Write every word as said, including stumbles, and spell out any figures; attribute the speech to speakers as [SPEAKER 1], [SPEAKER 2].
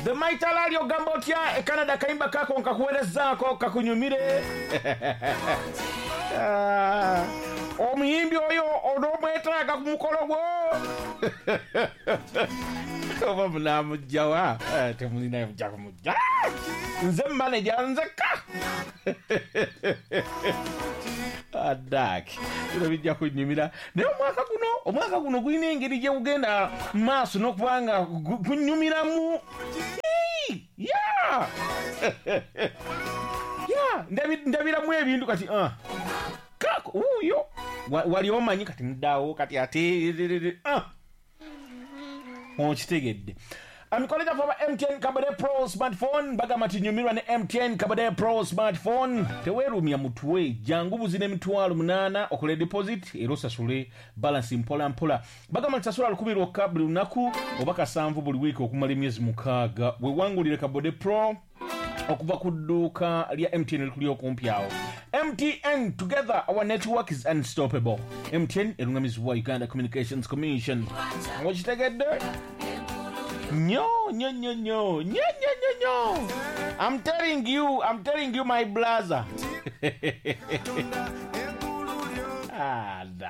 [SPEAKER 1] The Mighty Alali, ogamba otya e Canada? Kayimba kako nkakuwerezaako kakunyumire. Ah, omuyimbi oyo onoomwetaaga ku mukolo gwo oba munamugjawa? Eh, temulina mujja kumujja, nze manager nzekka. Adak bino bijja kunyumira, naye omwaka guno omwaka guno gulina engeri gye gugenda maaso n'okuba nga gu- gunyumiramu. Ii, ya ya ndabi- ndabiramu ebintu kati, ah. Kako wuuyo. Wa- wali omanyi kati muddawo kati ate, ah. Okitegedde? Emikolo gyaffe aba M T N Kabade Pro smartphone bagamba nti nyumirwa ne M T N Kabade Pro smartphone. Teweerumya mutwe, jangu buzina emitwalo munaana okole deposit era osasule balance mpola mpola. Bagamba nti sasula lukumi lwokka buli lunaku oba kasanvu buli wiiki okumala emyezi mukaaga, wewangulire Kabode Pro okuva ku dduuka lya M T N likuli okumpi awo. M T N, together our network is unstoppable. M T N erungamizibwa Uganda Communications Commission. Okitegedde? Nnyo nnyo nnyo nnyo nnyo nnyo nnyo nnyo. I'm telling you, I'm telling you, my brother. Ah, da.